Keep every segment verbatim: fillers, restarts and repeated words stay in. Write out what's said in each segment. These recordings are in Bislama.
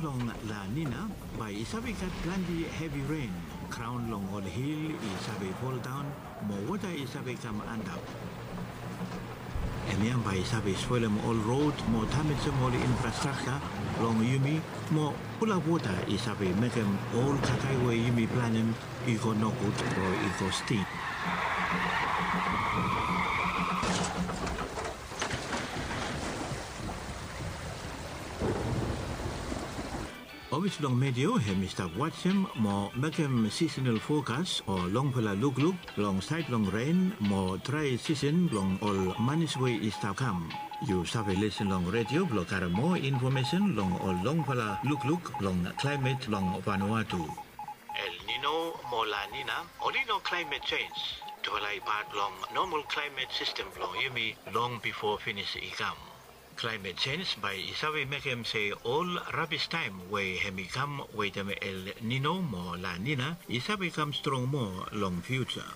Long La Nina, bae i save gat plante hevi ren. Graon long ol hil i save foldaon, mo wota i save kam antap. Hemia bae i save spolem ol rod mo damejem ol infrastrakja blong yumi, mo fulap wota i save mekem ol kakae we yumi planem i go nogud o i go sting. Ofis blong Meteo hem i stap wajem mo mekem seasonal forecast o longfala lukluk long saed blong ren mo drae season blong ol manis we i stap kam. Yu save lisen long redio blong karem moa infomesen long ol longfala lukluk blong klaemet blong Vanuatu. El Nino mo La Nina oli no klaemet jenj. Tufala i pat blong nomal klaemet sistem blong yumi long bifo finis i kam. Klaemet jenj bae i save mekem se ol rabis taem we hem i kam wetem El Nino mo La Nina i save kam strong moa long fiuja.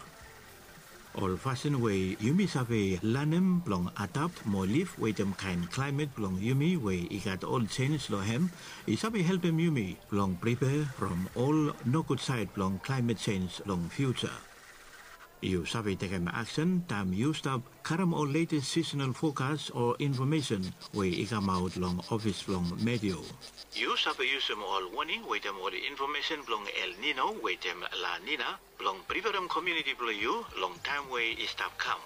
Ol fasin we yumi save lanem blong adapt mo liv wetem kaen klaemet blong yumi we i gat ol jenj long hem i save helpem yumi blong pripea from ol nogud saed blong klaemet jenj long fiuja. Yu save tekem aksen taem yu stap karem ol letes seasonal forecast o infomesen we i kamaot long ofis blong Meteo. Yu save yusum ol woning wetem ol infomesen blong El Nino wetem La Nina blong priperem komuniti blong yu long taem we i stap kam.